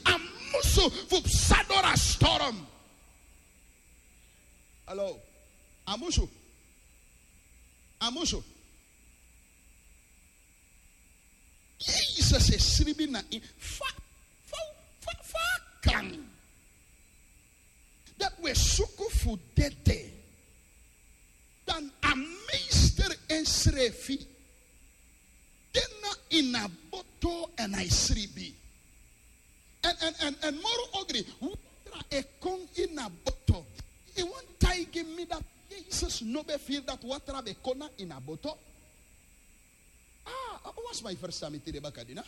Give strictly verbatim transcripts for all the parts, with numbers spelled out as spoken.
A musu fu psa doro a storm. Alo. A musu. A musu. Jesus e sribi na ini fa fa fa fa kan. Dati we suku fu dede. Dan a meester ensrefi de na ini a boto èn a e sribi. Èn èn èn èn moro ogri watra e kon ini a boto. I wani taigi mi dati Jesus no ben firi dati watra ben kon na ini a boto? Ah, a wan sma e ferstan mi tide bakadina.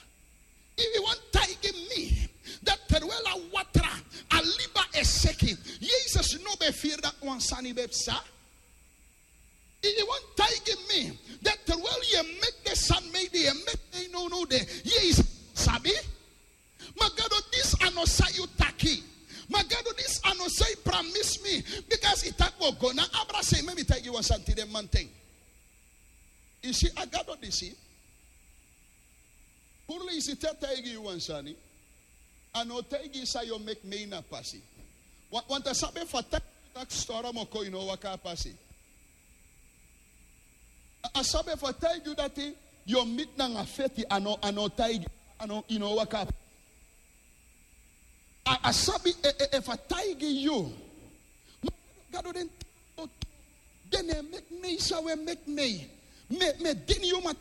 I wani taigi mi dati terwel a watra a liba e seki, Jesus no ben firi dati wan sani ben psa? I wani taigi mi dati terwel yu e meki den sani mei di yu e meki mei nownow de, yu e sabi? Ma Gado, disi a no san yu taki. Ma Gado, disi a no san yu pramisi mi. Bikasi i taki wi o go na abra sei. Meki mi taigi yu wan sani tide manten. I si a Gado disi, puru leisi te a taigi yu wan sani, a no o taigi yu san yu o meki mei na pasi. Wa- want a sabi efu a taigi yu taki storm o kon, yu no o waka a pasi. A- a sabi efu a taigi yu dati yu o miti nanga feti, a no a no o taigi yu, a no yu no o waka a pasi. A- a sabi e- e- efu a taigi yu. Ma Gado, den taigi yu, den e meki mei san wi e meki mei. Mi e- mi e dini yu, ma